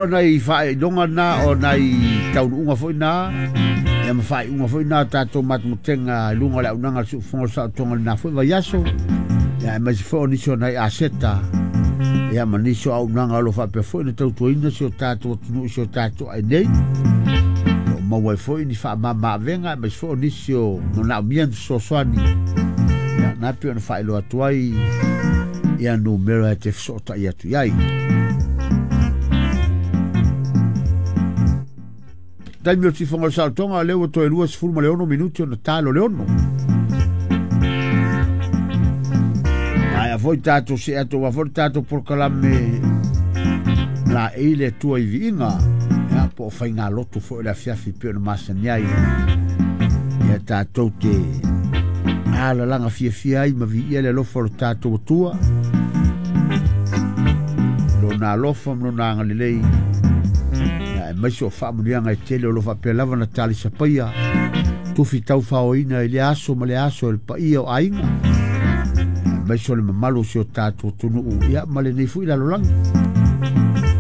O nai faailoga na, o nai taunuuga foi na, ia ma faaiuga foi na tatou matamatega i luga o le auaunaga a le Siufofoga o le Saolotoga i lena foi vaiaso, ia aemaise foi o nisi o nai aseta, ia ma nisi o auaunaga o lo o faapea foi ona tautuaina si o tatou atunuu i si o tatou ainei. O lo o maua ai foi ni faamama-avega aemaise foi o nisi o manaomia ni fesoasoani, ia na pei ona faailoa atu ai ia numera e te fesootai atu i ai. Taimi o le tifoga o le saolotoga, lea ua toe 26 minuti ona talo le 6. Aia foi tatou se atu aua foi le tatou polokalame la e le Atua i viiga, ia po o faigalotu foi o le afiafi pei ona masani ai. Ia tatou te alalaga fiafia ai ma viia le alofa o le tatou Atua, lona alofa ma lona agalelei, ia aemaise o faamanuiaga e tele o lo o faapea lava na talisapaia tufi taufaoina i le aso ma le aso e le paia o aiga, aemaise o le mamalu o si o tatou atunuu, ia ma lenei foi lalolagi.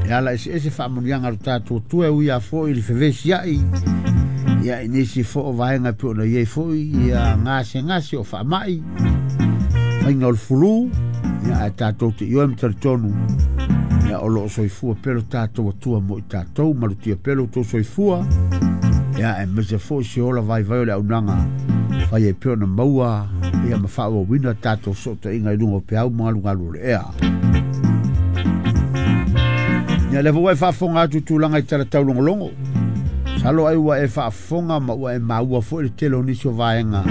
E ala eseese faamanuiaga a lo tatou Atua e ui lava foi i le fevesiai, ia i nisi foi o vaega e pei ona i ai foi ia gasegase o faamai, faiga o le fulu, ia ae tatou te ioe ma talitonu, ia o lo o soifua pea lo tatou Atua mo i tatou, malutia pea lo outou soifua, ia aemaise foi se ola vaivai o le auaunaga, fai ai pea ona maua ia ma faaauauina tatou fesootaiga i luga o peau ma galugalu o le ea. Ia lea foi ua e faafofoga atu i tulaga i tala taulogologo. Masalo ai ua e faafofoga ma ua e maua foi le tele o nisi o vaega.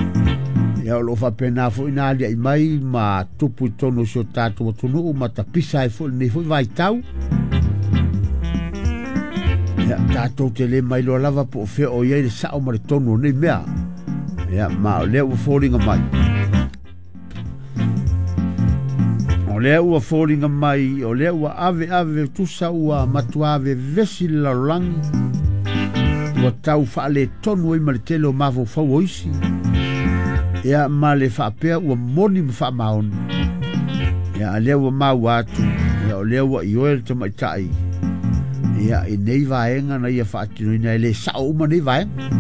Ia o lo o faapena foi na alia'i mai ma tupu i totonu o si o tatou atunuu ma tapisa ai foi lenei foi vaitau. Ia tatou te le mailoa lava po o fea o i ai le sao ma le tonu o nei mea. Ia ma o lea ua foliga mai. O lea ua foliga mai, o lea ua ave ave tusa ua matua vevesi le lalolagi, ua tau faaletonu ai ma le tele o mafaufau o isi, ia ma le faapea ua moni ma faamaoni. Ia a lea ua maua atu, ia o lea ua ioe le tamaitai, ia i nei vaega na ia faatinoina e le sao uma nei vaega.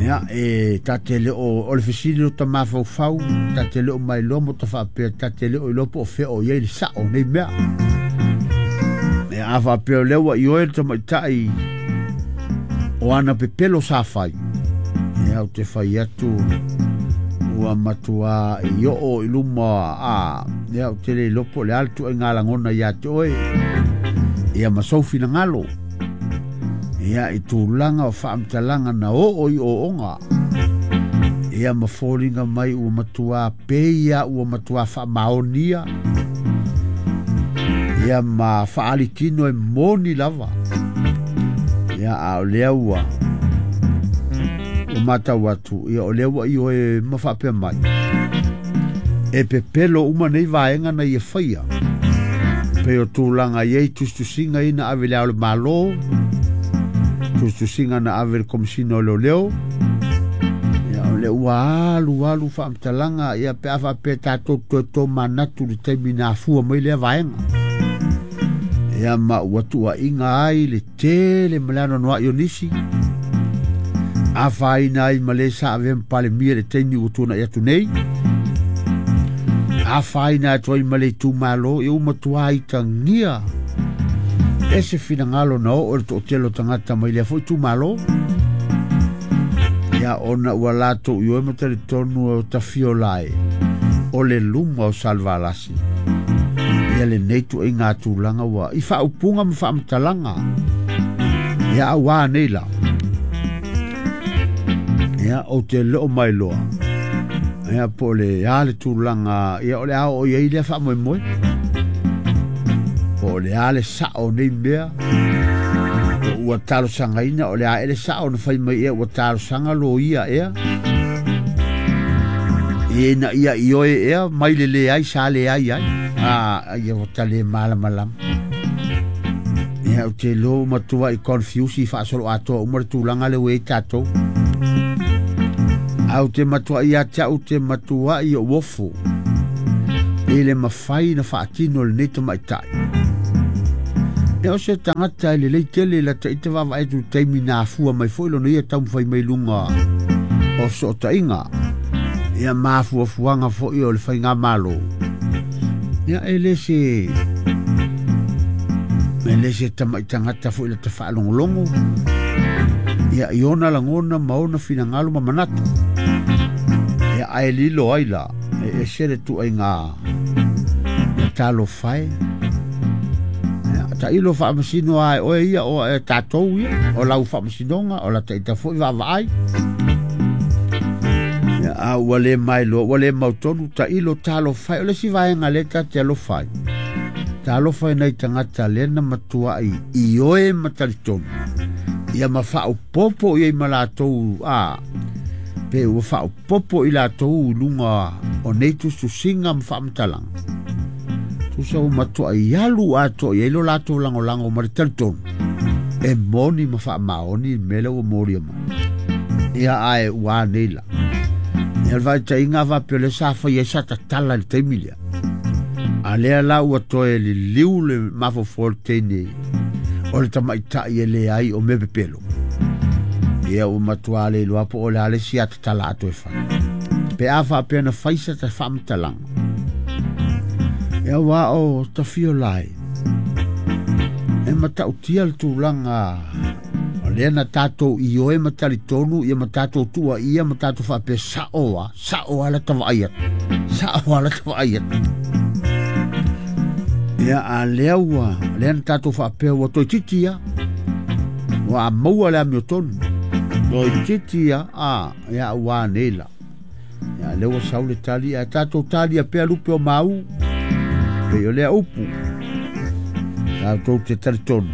Ia e ta te le o, o le fesili o ta mafaufau, ta te le o mailoa mo ta faapea, ta te le o iloa po o fea o i ai le sao o nei mea. Ia a faapea o lea ua ioe le tamaitai o ana pepelo sa fai, ia ou te fai atu ua matua i oo i luma a, ia ou te le iloa po o le a le tuaiga lagona ia te oe, ia ma sou finagalo. Ia i tulaga o faamatalaga na oo i ooga, ia ma foliga mai ua matua peia, ua matua faamaonia, ia ma faalitino e moni lava. Ia a o lea ua ua matau atu, ia o lea ua ioe ma faapea mai, e pepelo uma nei vaega na ia faia. Pei o tulaga i ai tusitusiga ia na ave i le Ao o le Malo, tusitusiga na ave i le Komesina o Leoleo, ia o lea ua alu alu faamatalaga, ia pe a faapea tatou toe tomanatu i le taimi na afua mai lea vaega. Ia ma ua tuuaiga ai le tele ma le anoanoai o nisi, afaina ai ma le sa avea ma Palemia i le taimi ua tuanai atu nei, afaina atu ai ma le itumalo, ia ua matua itagia e se finagalo na oo i le toatele o tagata mai lea foi itumalo. Ia ona ua latou ioe ma talitonu o tafiola e o le luma o Salevalasi. Ia lenei tuaiga tulaga ua i faaupuga ma faamatalaga. Ia auā nei la. Ia ou te leo mai loa. Ia po o le a le tulaga, ia o le a oo i ai lea faamoemoe. Po o le a le sao o nei mea. Po ua talosagaina o le a ea le sao na fai mai ea ua talosaga loia ea. Ina ia ioe ea mai le leai sa leai ai. A, ia ua ta le malamalama. Ia ou te iloa ua matua i confuse i faasolo atoa uma le tulaga lea ua i ai tatou. Ae ou te matuai ia te au te matuai ou ofo i le mafai na faatino e lenei tamaitai. Ia o se tagata e lelei tele i lata ita vaavaai atu i le taimi na afua mai foi lona ia taumafai mai luga o fesootaiga ia ma afuafuaga foi o le faigamalo. Ia e le se e le se tamai tagata foi lata faalogologo ia i ona lagona ma ona finagalo ma manatu. Ia ae lilo ai la e ese le tuaiga ia talofa e. Ia tailo faamasino lava e oe ia o e tatou ia o lau faamasinoga o lata ita foi vaavaai. Ia a ua le mailoa ua le mautonu tailo talofa e. O le isi vaega lea ta te alofa ai, talofa i nai tagata lea na matuai ioe ma talitonu ia ma faaopopo i ai ma latou a pe ua faaopopo i latou i luga o nei tusitusiga ma faamatalaga. Tusa ua matuai alu atoa i ai lo latou lagolago ma le talitonu e moni ma faamaoni le mea lea ua molia mai. Ia ae ua anei la. Ia le faataitaiga faapea o lea sa fai ai sa tatala i le taimi lea. A lea la ua toe liliu le mafaufau o le teine o le tamaitai e leai o mea pepelo. Ia ua matua le iloa po o le a le isi atatala atu e fai. Pe a faapea na fai sa ta faamatalaga. Ia ua o tafio lai. E matautia le tulaga o lea na tatou ioe ma talitonu ia ma tatou tuuaia ma tatou faapea sao a, sao a la ta vaai atu. Sao a la ta vaai atu. Ia a lea ua, lea na tatou faapea ua toeitiiti ia. Ua maua le amiotonu. Toeitiiti ia, a, ia ua anei la. Ia lea ua sau le tali, ae tatou talia pea lupe o mau. Pei o lea upu. Tatou te talitonu.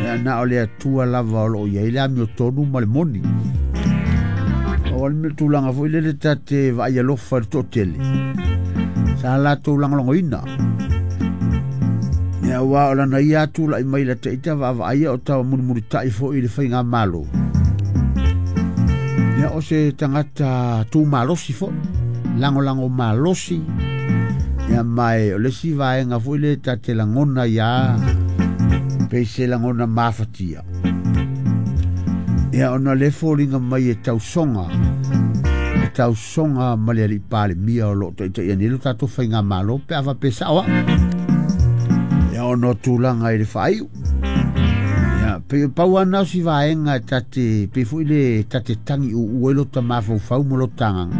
Ia na o le Atua lava o loo i ai le amiotonu ma le moni. O le mea tulaga foi lele ta te vaai alofa i le toatele. Sa latou lagolagoina. Ia aua o lana ia tulai mai lata ita vaavaaia o tau mulimulitai foi i le faigamalo. Ia o se tagata tumalosi foi, lagolago malosi. Ia mae o le isi vaega foi le ta te lagona ia pei se lagona mafatia. Ia ona le foliga mai e tausoga, e tausoga ma le alii Palemia o loo taitaia nei lo tatou faigamalo pe a faapea sao au. Ia ona o tulaga i le faaiu. Ia pei pau lava na o si vaega e ta te pei foi le ta te tagi uua ai lo ta mafaufau ma lo ta agaga.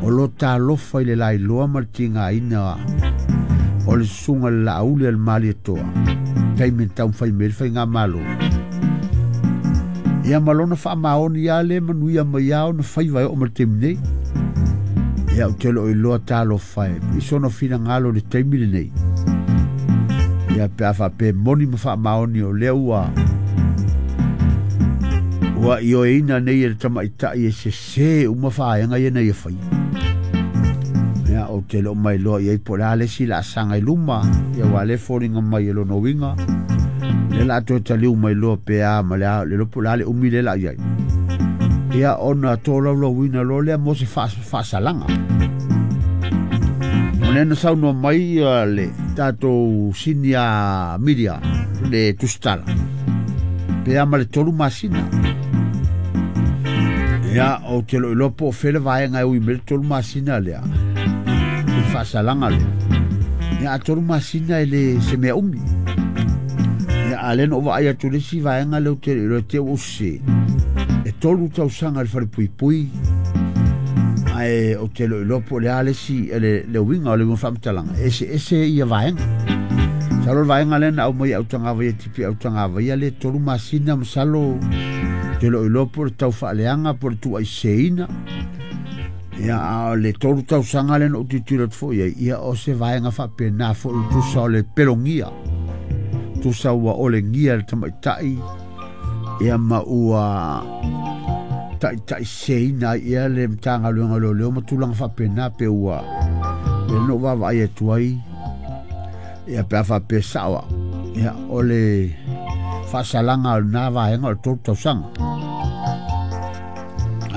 O lo ta alofa i le lailoa ma le tigaina o le susuga i le Laauli a le Malietoa. Taimi na taumafai mai ai le faigamalo. Ia ma lona faamaoni lava lea manuia mai lava ona faiva e oo mai le taimi nei. Ia ou te le o iloa talofa e i sona finagalo i le taimi lenei. Ia pe a faapea e moni ma faamaoni o lea ua ua ioeina nei e le tamaitai e sese uma vaega ia na ia faia. Ia ou te le o mailoa i ai po o le a le isi laasaga i luma. Ia aua o lea e foliga mai e lona uiga lea o le a toe taliu mai loa pe a ma le a, le iloa po o le a le umi lea o le a i ai. Ia ona tolaulauina loa lea mo se faasalaga. O lea na saunoa mai le tatou senior media le tusitala pe a ma le 3 masina. Ia, ou te le o iloa po o fea le vaega e ui mai le 3 masina lea, i le faasalaga lea. Ia, a 3 masina e le se mea umi. Ia, a lea na ou vaai atu i le isi vaega lea ou te le iloa te ua ou sese. E 3 tausaga i le falepuipui, ae ou te le o iloa po o le a le isi, le uiga o le uiga o le faamatalaga, e eseese ia vaega. Masalo le vaega lea na aumai e Autagavaia Tipi Autagavaia le 3 masina, masalo te le o iloa po o le tau faaleaga po o le tuuaiseseina. Ia, a o le 3 tausaga lea na ou tilotilo atu foi i ai, ia o se vaega faapena foi tusa o le pelogia. Tusa ua olegia le tamaitai, ia ma ua taitaiseseina ai ia le Matagaluega o Leoleo ma tulaga faapena pe ua lea na ou vaavaai atu ai. Ia pe a faapea sao au, ia o le faasalaga o lena vaega o le 3 tausaga.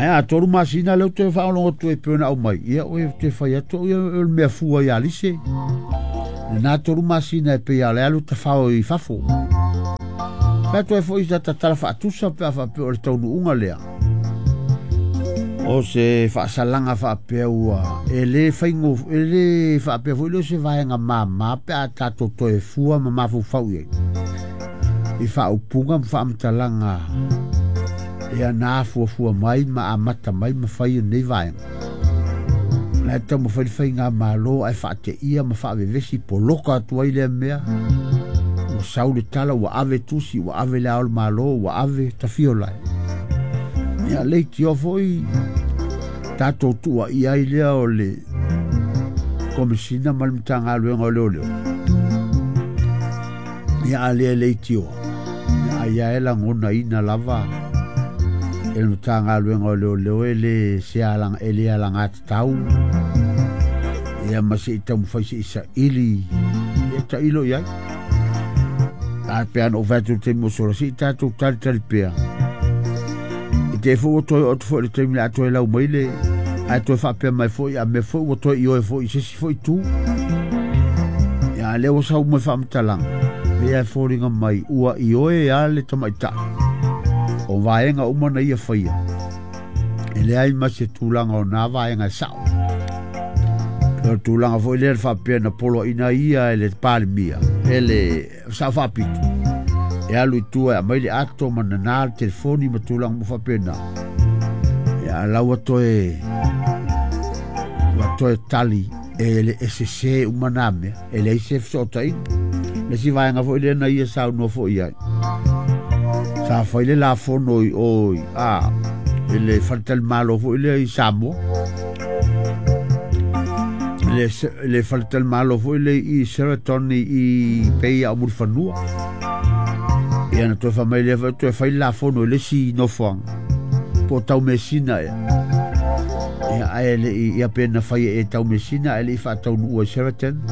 Ae a 3 masina lea ou te faalogologo atu ai pei ona aumai, ia ou te fai atu au ia o le mea fua ia Lise. Lena 3 masina e pei a le alu tafao i fafo. Pe toe foi sa tatala faatusa pe a faapea o le taunuuga lea. O se faasalaga faapea ua e le faigo e le faapea foi lea o se vaega mamā pe a tatou toe fua ma mafaufau i ai i faaupuga ma faamatalaga ia na afuafua mai ma amata mai ma fai nei vaega. La e taumafai le faigamalo ae faateia ma faavevesi poloka atu ai lea mea. Ua sau le tala ua ave tusi, ua ave le ao o le malo, ua ave tafio lai. Ia leitioa foi tatou tuuaia ai lea o le Komesina ma le Matagaluega o Leoleo. Ia a lea leitioa. Ia ai e lagonaina lava e le Matagaluega o Leoleo e le se alaga e le alagatatau. Ia ma se i taumafai se i saili ia tailo i ai. A pe ana o fai atu le taimi o sola, se i tatou talitali pea. I te foi ua toe oo atu foi i le taimi le a toe lau mai le ae toe faapea mai foi a mea foi ua toe ioe foi i se isi foi itu. Ia a lea ua sau mai faamatalaga, pei e foliga mai ua ioe a le tamaitai. O vaega uma na ia faia, e leai ma se tulaga o nā vaega e sao. O le tulaga foi lea le faapea na poloaina ia e le Palemia, e le sao faapito. E alu i tua e aumai le ato ma nana le telefoni ma tulaga uma faapena. Ia lau ua toe tali e le sese uma nā mea, e leai se fesootaiga. Le isi vaega foi lea na ia saunoa foi ai. Sa fai le lafono i o i a i le faletalimalo foi lea i Samoa. Le faletalimalo foi lea i Sheraton i pei o Mulifanua. Ia na toe faamai lea foi toe fai le lafono i le isi nofoaga po o Taumeasina ea. Ia ae le i ia pe na fai e Taumeasina ae le i faataunuua i Sheraton.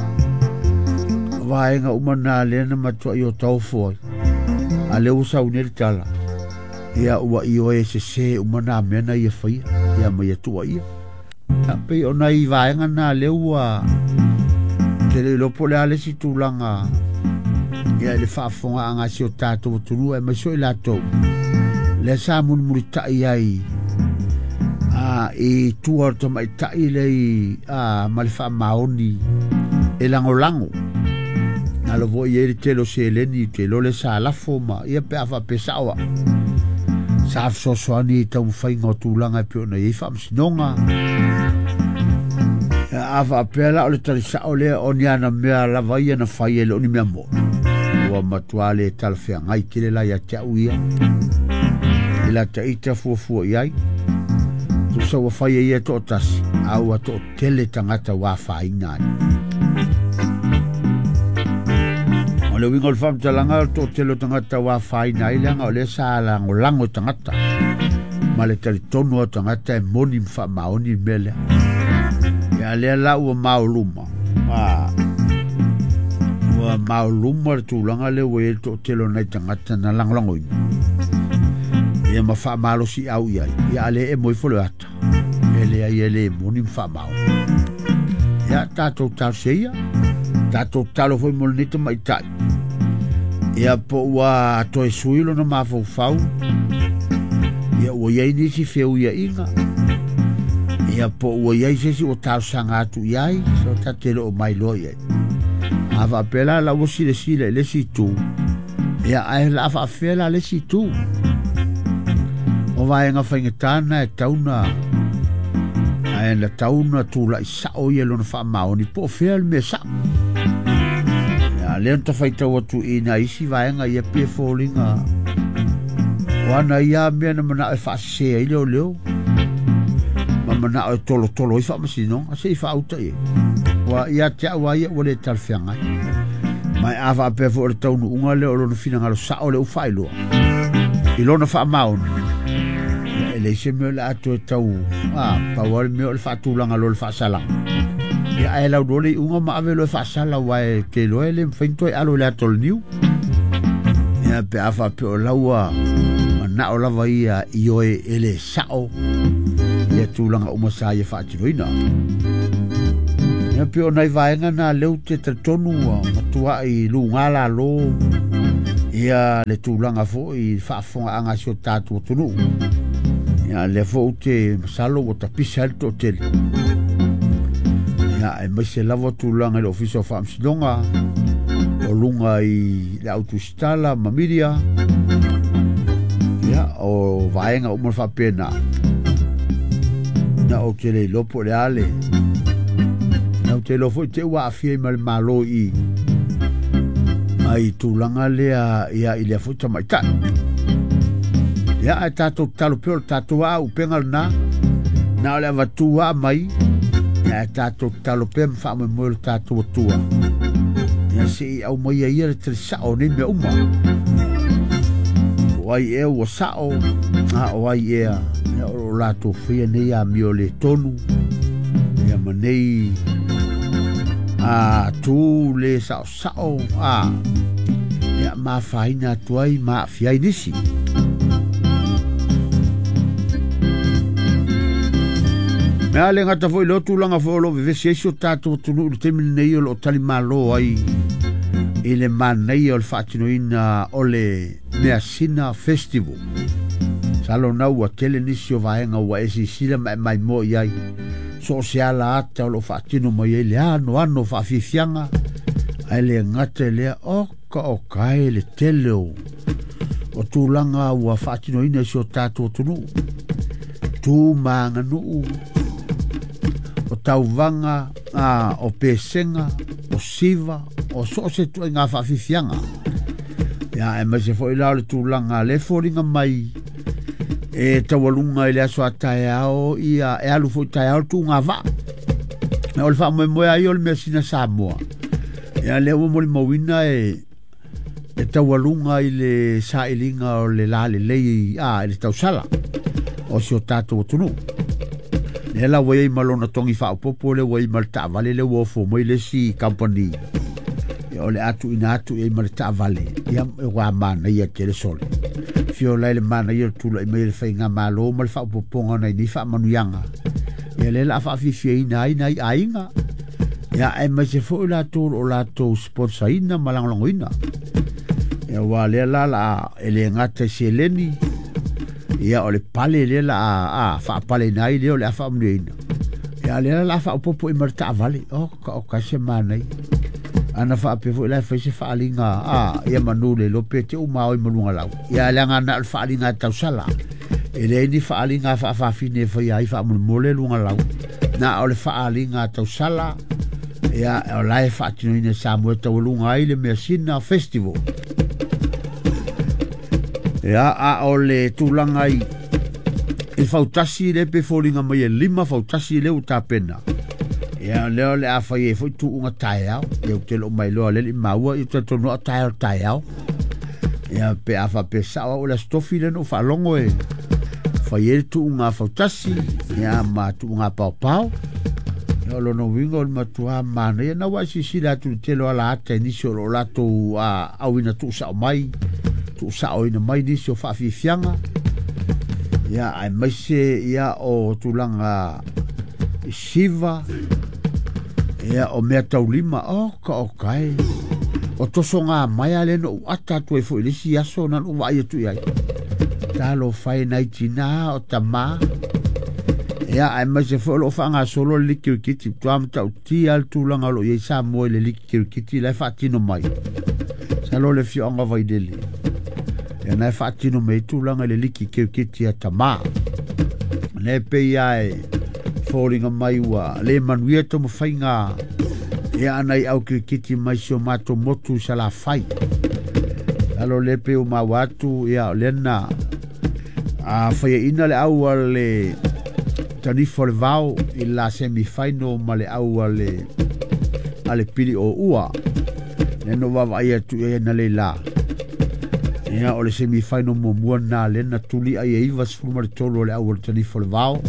Vaega uma na lea na matuai o taofo ai. A lea ua sau nei le tala. Ia ua ioe sese uma nā mea na ia faia. Ia ma ia tuuaia. Ia pei o nai vaega na lea ua te le iloa po o le a le isi tulaga ia i le faafofogaaga a si o tatou atunuu aemaise o i latou lea sa mulimulitai ai i tua o le tamaitai lea i ma le faamaoni e lagolago. Na lo foi i ai le tele o seleni te iloa le sa lafo ma ia pe a faapea sao au. Sa fesoasoani i taumafaiga o tulaga e pei ona i ai faamasinoga. Ia a faapea la o le talisao lea o ni ana mea lava ia na fai e le o ni mea moni. Ua matua le talafeagai tele la ia te au ia. I la taita fuafua i ai. Tusa ua fai e ia toatasi, a ua toatele tagata ua afaina ai. O le uiga o le faamatalaga o le toatele o tagata ua afaina ai leaga o lea sa lagolago i tagata. Ma le talitonu o tagata e moni ma faamaoni le mea lea. Ia lea la ua maoluma. Ua maoluma le tulaga lea ua i ai le toatele o nai tagata na lagolagoina. Ia ma faamalosi au i ai. Ia a le emo ifo le ata. E leai e le moni ma faamaoni. Ia tatou talosia ia. Tatou talo foi mo lenei tamaitai. Ia po ua toe sui lona mafaufau. Ia ua i ai nisi feuiaiga. Ia po ua i ai se isi ua talosaga atu i ai. So ta te le o mailoa i ai. A faapea la la ua silasila i le isi itu. Ia ae la faafefea la le isi itu. O vaega faigata na e tauna ae na tauna tulai sao ia lona faamaoni po o fea le mea sao. Ia lea na tafaitau atu i nai isi vaega ia pei e foliga o ana ia mea na manao e faasese ai leoleo ma manao e tolotolo ai faamasinoga se i faauta i ai. Ua ia te au a ia ua le talafeagai. Ma e a faapea foi o le taunuuga lea o lona finagalo sao lea ua faailoa i lona faamaoni. Ia e leai se mea o le a toe tau pau lava le mea o le faatulaga loa o le faasalaga. Ia ae lauloa le iuga ma ave loa e faasala aua e te iloa e le mafai ona toe alo i le ata o le niu. Ia pe a faapea o lau manao lava ia ioe e le sao ia tulaga uma sa ia faatinoina. Ia pe o nai vaega na lea ou te talitonu ua matuai luga lalo ia le tulaga foi i le faafofogaaga a si o tatou atunuu. Ia lea foi ou te masalo ua tapisa ai le toatele. Ia aemaise lava tulaga i le Ofisa o Faamasinoga o luga i le autusitala ma media. Ia o vaega uma faapena. Na ou te le iloa po o le a le na ou te iloa foi te ua aafia ai ma le Malo i ai tulaga lea ia i lea foi tamaitai. Ia ae tatou tatalo pea o le tatou auupega lena. Na o le avatu a mai ia ae tatou tatalo pea ma faamoemoe le tatou Atua. Ia se i aumaia ia le tali sao o nei mea uma. O ai ea ua sao, a o ai ea ia o lo latou faia nei amio le tonu ia ma nei a tu le sao sao a ia mafaina atu ai ma aafia ai nisi. Mea le gata foi leo tulaga foi o lo o vevesi ai si o tatou atunuu i le taimi lenei o lo o talimalo ai i le manaia o le faatinoina o le Measina Festival. Masalo na ua tele nisi o vaega ua e sisila ma e maimoa i ai. So o se ala ata o lo o faatino mai ai le anoano o faafiafiaga, ae le gata i lea, oka oka e le tele o tulaga ua faatinoina i si o tatou atunuu. Tu ma aganuu, o tauvaga, o pesega, o siva, o so o se tuaiga faafiafiaga. Ia, aemaise foi la o le tulaga le foliga mai e taualuga i le aso a taeao, ia e alu foi taeao le tuuga vaa. O le faamoemoe ai o le measina Samoa. Ia lea ua molimauina e taualuga i le sailiga o le lalelei i le tausala o si o tatou atunuu. Lea la ua i ai ma lona togi faaopoopo lea ua i ai ma le taavale lea ua ofo mai le isi company. Ia o le atuina atu i ai ma le taavale, ia ua manaia tele sole. Fio lai le manaia o le tulai mai le faigamalo ma le faaopoopoga o nai nei faamanuiaga. Ia lea la faafiafiaina ai nai aiga. Ia aemaise foi latou o latou sponsoraina ma lagolagoina. Ia ua lea la la e le gata i seleni, ia o le pale lea la a faapaleina ai lea o le a faamanuiaina. Ia lea la faaopoopo i ma le taavale, oka oka se manaia. Ana faapea foi la e fai se faaliga ia manu le iloa pe te uma o i maluga lau. Ia leaga na o le faaliga e tausala. E leai ni faaliga faafafine e faia ai faamolemole luga lau. Na o le faaliga tausala, ia o la e faatinoina e Samoa e taualuga ai le Measina Festival. Ia a o le tulaga i fautasi le pe foliga mai e 5 fautasi le ua tapena. Ia lea o le a fai ai foi tuuga taeao. Ia ou te loo mailoa le maua i talitonu o taeao taeao. Ia pe a faapea sao au o le aso tofi lea na ou faalogo e fai ai le tuuga fautasi, ia ma tuuga paopao. Ia o lona uiga o le matua manaia. Na ua silasila atu i le tele o ala ata i nisi o lo o latou auina tuusao mai, tuusaoina mai nisi o faafiafiaga. Ia aemaise ia o tulaga i siva, ia o mea taulima, oka oka e. O tosoga mai a le no u ata atu ai foi i le isi aso na ou vaai atu i ai. Talofa e nai tina o tama. Ia aemaise foi o lo o faagasolo le liki kirikiti. Tua matautia le tulaga o lo o i ai Samoa i le liki kirikiti la e faatino mai. Masalo le afioaga Vailele. Ia na e faatino mai tulaga i le liki kirikiti a tama. Le pei lava e foliga mai ua le manuia taumafaiga ia ana i au kirikiti mai si o matou motu i Salafai. Alo le pe o maua atu ia o lea na faiaina le au a le Tanifa o le Vao i la semifinal ma le au a le Pili o Ua. Lea na vaavaai atu i ai na leila. Ia o le semifinal muamua na lea na tuli ai e 93 o le au a le Tanifa o le Vao.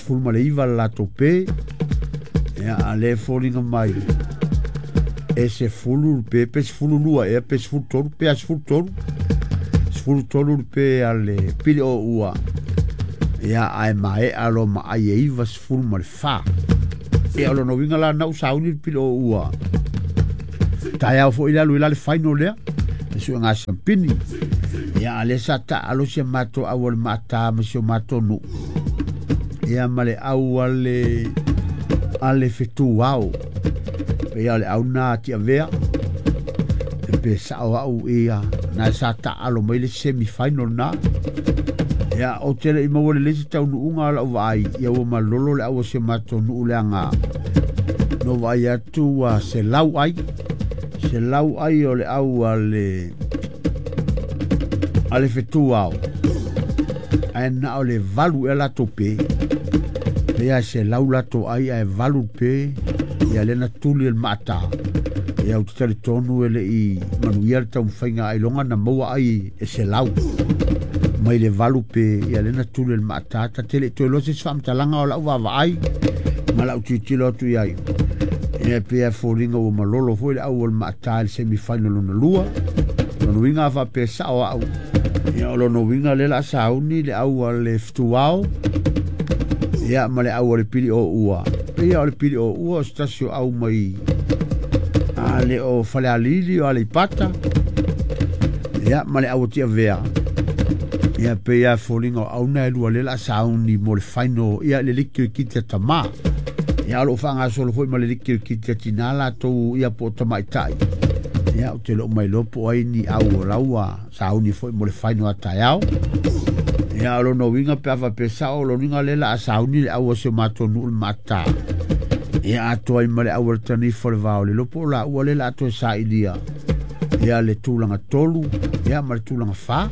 19 le latou pe. Ia a le foliga mai e se fulu pe pe 12 ea pe 13 pe a 13 13 pe a le Pili o Ua. Ia ae mae alo ma ai e 94. Ia o lona uiga la na ua sauni le pili ua taeao foi le alu i la le final lea le suega siampini. Ia a lea sa taalo si a matou au o le maata ma si o matou nuu ia ma le au a le fetuao. Ia o le au na tiavea e pe sao au ia na sa taalo mai le semi final na. Ia o tele i maua le lesi taunuuga o lau vaai ia ua malolo le au o si o matou nuu leaga no vaai atu ua 100 ai. 100 ai o le au a le fetuao ae na o le 8 e latou pe. Ia 100 latou ai ae 8 pe ia lena tuli el maata. Ia o te talitonu e le i manuia le taumafaiga ailoga na maua ai e 100 mai le 8 pe ia lena tuli el maata. Ta tele toe loa se isi faamatalaga o lau vaavaai ma lau tilotilo atu i ai. Ia pe a foliga ua malolo foi le au o le maata i le semi final lona lua. Lona uiga a faapea sao au. Ia o lona uiga lea la sauni le au a le fetuao ia ma le au a le pili o ua. Ia o le pili o ua o se tasi o au mai a le o Falealili o Aleipata ia ma le au o Tiavea. Ia pe ia foliga o au na e lua lea la sauni mo le final ia le liki o le kiti a tamā. Ia o loo faagasolo foi ma le liki o le kiti a tinā latou ia po o tamaitai. Ia o te loo mai loa po o ai ni au o laua sauni foi mo le final a taeao. Ia o lona uiga pe a faapea sao o lona uiga lea la a sauni le au a si o matou nuu le maata. Ia atoa ai ma le au a le tanifa o le vao le lopo o la ua lea la atoa sailia ia le tulaga 3 ia ma le tulaga 4.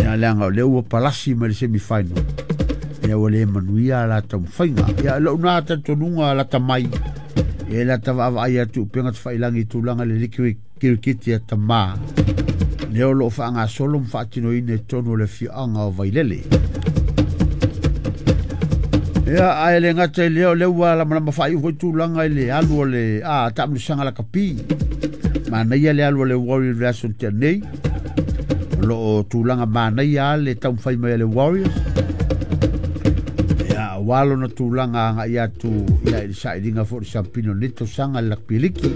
Ia leaga o lea ua palasi mai le semi final. Ia ua le manuia la taumafaiga. Ia lou na talitonuga lata mai ia la tavaavaai atu upega tafailagi i tulaga le liki kirikiti a tamā lea o loo faagasolo ma faatinoina i totonu o le afioaga o Vailele. Ia ae le gata i lea o lea ua lamalama faaiu foi tulaga i le alu o le taamilosaga lakapi. Manaia le alu o le Warriors version tea nei. O loo tulaga manaia le taumafai mai a le Warriors. Ia aua lona tulaga agai atu ia i le sailiga foi o le siampini o lenei tausaga i le lakapi liki.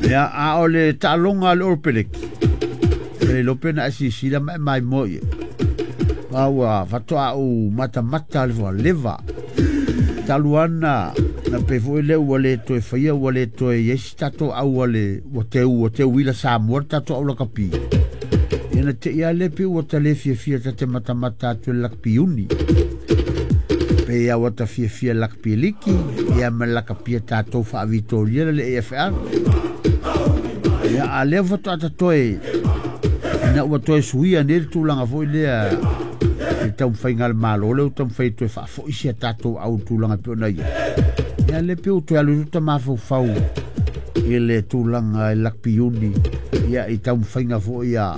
Ia a o le taaloga a le Oropeleki e le lope na e sisila ma e maimoa ia. Ua faatoa ou matamata le leva talu ana na pe foi lea ua le toe faia ua le toe i ai si tatou au a le ua teuila Samoa le tatou au lakapi. Ia na te ia le pe ua ta le fiafia ta te matamata atu le lakapi uni. Pe ia ua ta fiafia lakapi liki ia ma lakapi a tatou faavitoria le AFL. Ia a lea faatoa ta toe ina ua toe suia nei le tulaga foi lea i taumafaiga a le Malo lea ua taumafai toe faafoi si a tatou au tulaga pe ona ia. Ia le pe ua toe alu ta mafaufau i le tulaga i lakapi uni ia i taumafaiga foi ia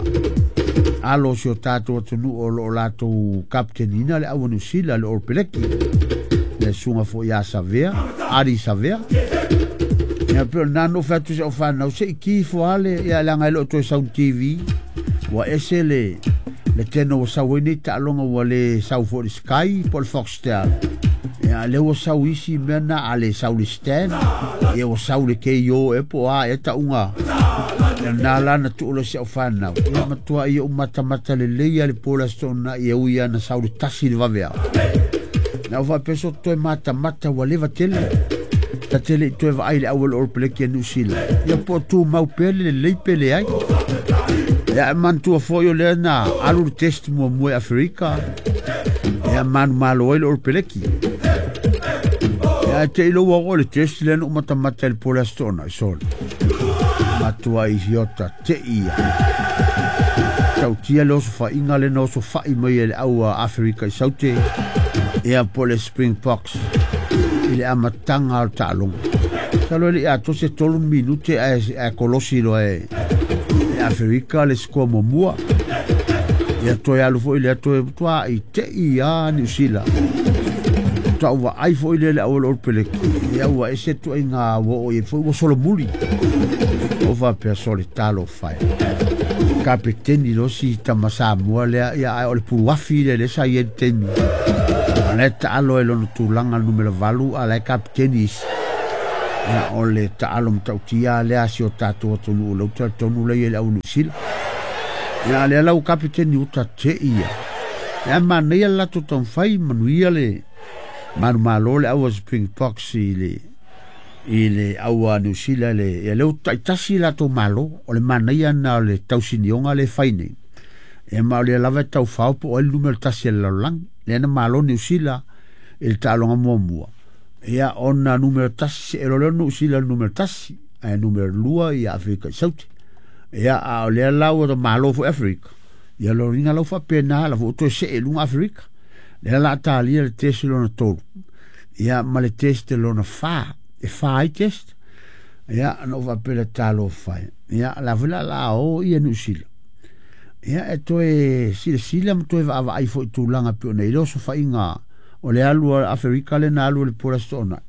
alo si o tatou atunuu o loo latou kaptenina le au a Niu Sila le Oropeleki le susuga foi ia Savea Adi Savea. Ia pe o lena na ou fai atu i si au fanau se i ki ifo lava le ia leaga e le o toe sau i le TV ua ese le teno ua sau ai nei taaloga ua le sau foi i le Sky po o le Foxtel. Ia lea ua sau isi mea na a le sau le Stan ia ua sau le KO e po o a ea tauga. Ia na la na tuu loa si au fanau ia matua ia ou matamata lelei a le po le aso Toonai ia ui ana sau le 1 le vaveao. Na ou faapea so toe matamata ua leva tele. Ta tele i toe vaai le au o le Oropeleki a Niu Sila. Ia po o tumau pea le lelei pe leai. Ia e manatua foi o lea na alu le test muamua i Aferika. Ia manumalo ai le Oropeleki. Ia e te ilo ua oo le test lea na ou matamata i le po le aso Toonai sole. Matua i hiota te ia. Tautia le oso faiga le na oso fai mai e le au a Aferika i Saute. Ia po le Springboks i le amataga o le taaloga. Salo e le i atoa se 3 minute ae kolosi loa e Aferika le sikoa muamua. Ia toe alu foi lea toe matua i tei a Niu Sila. Tau vaai foi lea le au o le Oropeleki. Ia ua ese tuaiga ua oo i ai foi ua solomuli. O faapea sole talofa e. Kapeteni loa si tama Samoa lea ia ae o le puluafi lea lea sa i ai le taimi. la e taalo ai lona tulaga le numera 8 a la e kapiteni isi. Ia o le taalo matautia lea a si o tatou atunuu lea ou te talitonu lea e i ai le au Niu Sila. Ia lea la ua kapiteni uta te ia. Ia manaia le latou taumafai manuia le manumalo le au a Springboks i le au a Niu Sila le ia lea ua taitasi latou malo o le manaia na o le tausinioga le fai nei. Ia ma o lea lava e taufao po o ai le numera 1 o le lalolagi. Lea na malo Niu Sila i le taaloga muamua. Ia ona numera 1 se elo lea Niu Sila le numera 1, ae numera 2 ia Afrika i Saute. Ia a o lea la ua malo foi Afrika. Ia lo ringa lau faapena la foi toe see i luga Afrika. Lea la talia le test lona 3. Ia ma le test lona 4. E 4 ai test. Ia na ou faapea talofa. Ia la foi la la o ia Niu Sila. Ia e toe silasila ma toe vaavaai foi tulaga pei ona i le osofaiga o le alu a Afrika le na alu le pola sona.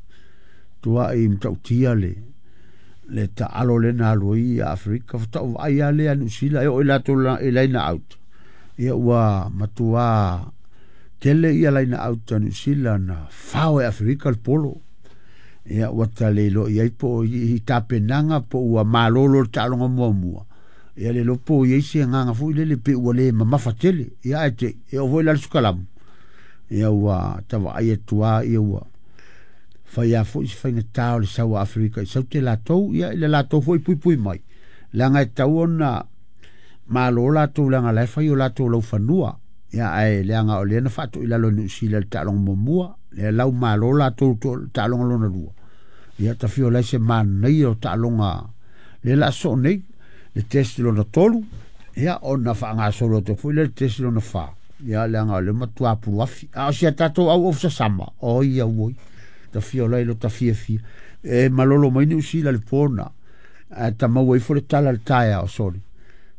Tua i matautia le taalo le na alu i Afrika fatau vaai a le Niu Sila e o i latou i line out. Ia ua matua tele ia line out a Niu Sila na fao e Afrika le polo. Ia ua tale lo i ai po i tapenaga po ua malolo le taaloga muamua. Ia le lopo i ai se agaga foi lele pe ua le mamafa tele. Ia ae te e oo foi la le sukalamu. Ia ua tavaai atu lava ia ua fai a foi se faigata o le sau a Afrika i Saute latou. Ia i le latou foi puipui mai. Leaga e tau ona malo latou leaga la e fai o latou laufanua. Ia ae leaga o lea na faatoi lalo e Niu Sila le taaloga muamua. Lea lau malo latou taaloga lona 2. Ia tafio lai se manaia o taaloga lea la soo nei. Le test lona 3, ia ona faagasolo atu foi le test lona 4. Ia leaga o le matua puluafi. A o si a tatou au ofisa sama, o ia oi. Tafio lai lo tafiafia. E malolo mai Niu Sila le pona. A tamau ai fo le tala le taea o soli.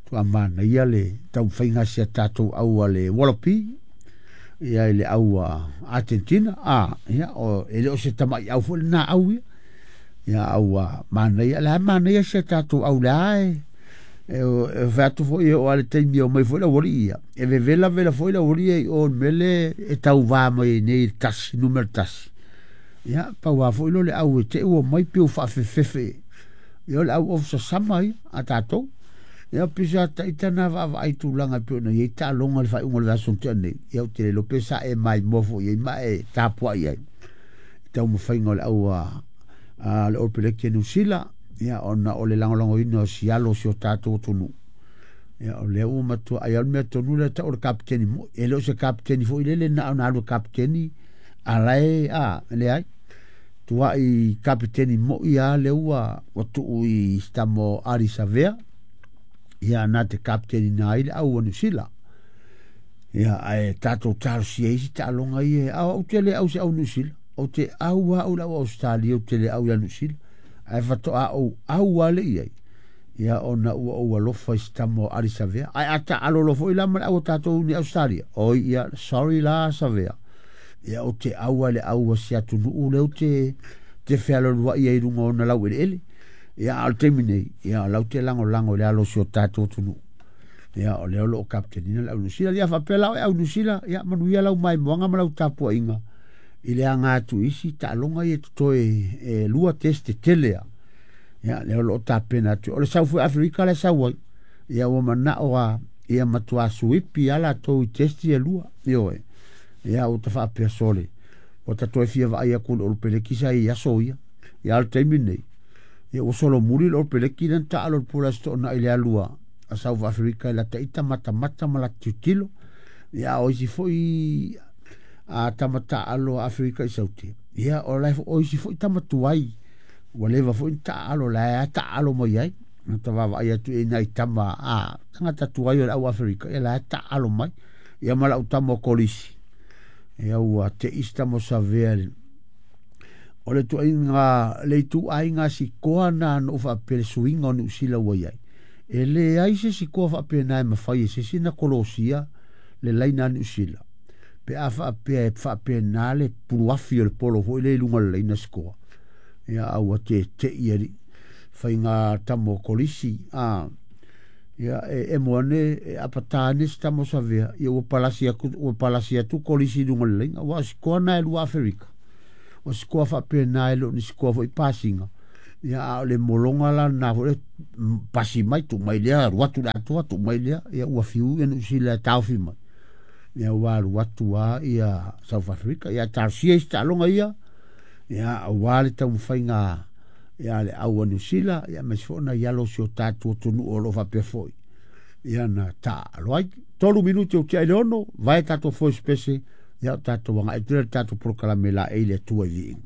Tua manaia le taumafaiga si a tatou au a le Wallaby. Ia i le au a Argentina. A, ia o e le o se tamai au foi lena au ia. Ia au a manaia. Le a manaia si a tatou au le ae. E fai atu foi o ale taimi o mai foi la wali ia. E vevela vela foi la wali ia o mele e tauva mai nei tasi, numera 1. Ia, paua foi lo le au e te ua mai pe u whaafefefe. Ia o le au ofisa sama ia, a tātou. Ia, pisa taita na vaavaai tulaga pe ona iai taaloga le faaiuga o le vaiaso tea nei. Ia, o te le lope sa e mai mua foi ai ma e tapuai ai. Taumafaiga o le au a le All Blacks Niu Sila. Ia, ona o le lagolagoina o sialo o si o tatou atunuu. Ia, o lea ua matua ai au le mea tonu lea tau o le kapiteni moi. E le o se kapiteni foi lele na ona alu e kapiteni a lae a leai. Tua i kapiteni moi a lea ua tuu i stamo Ari Savea. Ia, na te kapiteni na ai le au a Niu Sila. Ia, ae tatou talosia isi taaloga ia. A ou te le au se au Niu Sila. Ou te au a au le au Australia, ou te le au ia Niu Sila. Ae fatoa ou au a le iai. Ia ona ua ou alofa i stamo Ari Savea. Ae a taalolo foi la ma le au o tatou ni Australia. Oi ia, sorry la Savea. Ia o te au a le au a si atunuu le o te fealoluai ai lunga ona lau eleele. Ia a o le taimi nei, ia lau te lagolago i le alo o si o tatou atunuu. Ia o lea o loo kapitenina le au Niu Sila. Ia faapea la o e au Niu Sila, ia manuia lau maimoaga ma lau tapuaiga i le aga atu isi taaloga ia totoe e 2 test tele a. Ia lea o loo tapena atu. O le sau foi Afrika le sau ai. Ia ua manao a ia matua suipi a latou i test ia 2. Ioe. Ia ua tafaapea sole. Ua tatoe fia vaai atu le Olopeleki sa i aso ia. Ia o le taimi nei. Ia ua solo muli le Olopeleki lena taalo le pula setoona i le alua a South Africa i la taita matamata ma la tilotilo. Ia o isi foi a tamata alo a Afrika i Saute. Ia o la o isi foi tamatuai. Ua leva foi ni taalo la e taalo mai ai. Na tavavaai atu e nai tama a tangata tuai o le au Afrika. Ia la e taalo mai. Ia ma lau tama o kolisi. Ia ua te ista mo savea o le tuaiga le ituaiga sikoa na no faapea le suiga o Niu Sila ua iai. E leai se sikoa faapena e mafai e se isi na kolosia le laina a Niu Sila. Pe a faapea e faapena le puluafi o le polo foi le i luga o le laina sikoa. Ia a ua tete'i alii faiga tamo o kolisi a Ia e emo ane e apata ane se tama o Savea, ia ua palasi atu, ua palasi atu kolisi i luga o le laina, aua o sikoa na e lua Aferika. O sikoa faapena e le o ni sikoa foi pasiga. Ia a o le mologa la lena foi lea, pasi mai, tuu mai lea, alu atu i le atoa, tuu mai lea, ia ua fiu ia Niu Sila e taofi mai. Ia ua alu atu lava ia South Africa. Ia talosia isi taaloga ia, ia aua le taumafaiga ia le au a Niu Sila, ia aemaise foi nai alo o si o tatou atunuu o lo o faapea foi ia na taaalo ai. 3 minute o tiai i le 6, vae tatou foe se pese, ia o tatou agai atu lea i le tatou polokalame laei le Atua i viiga.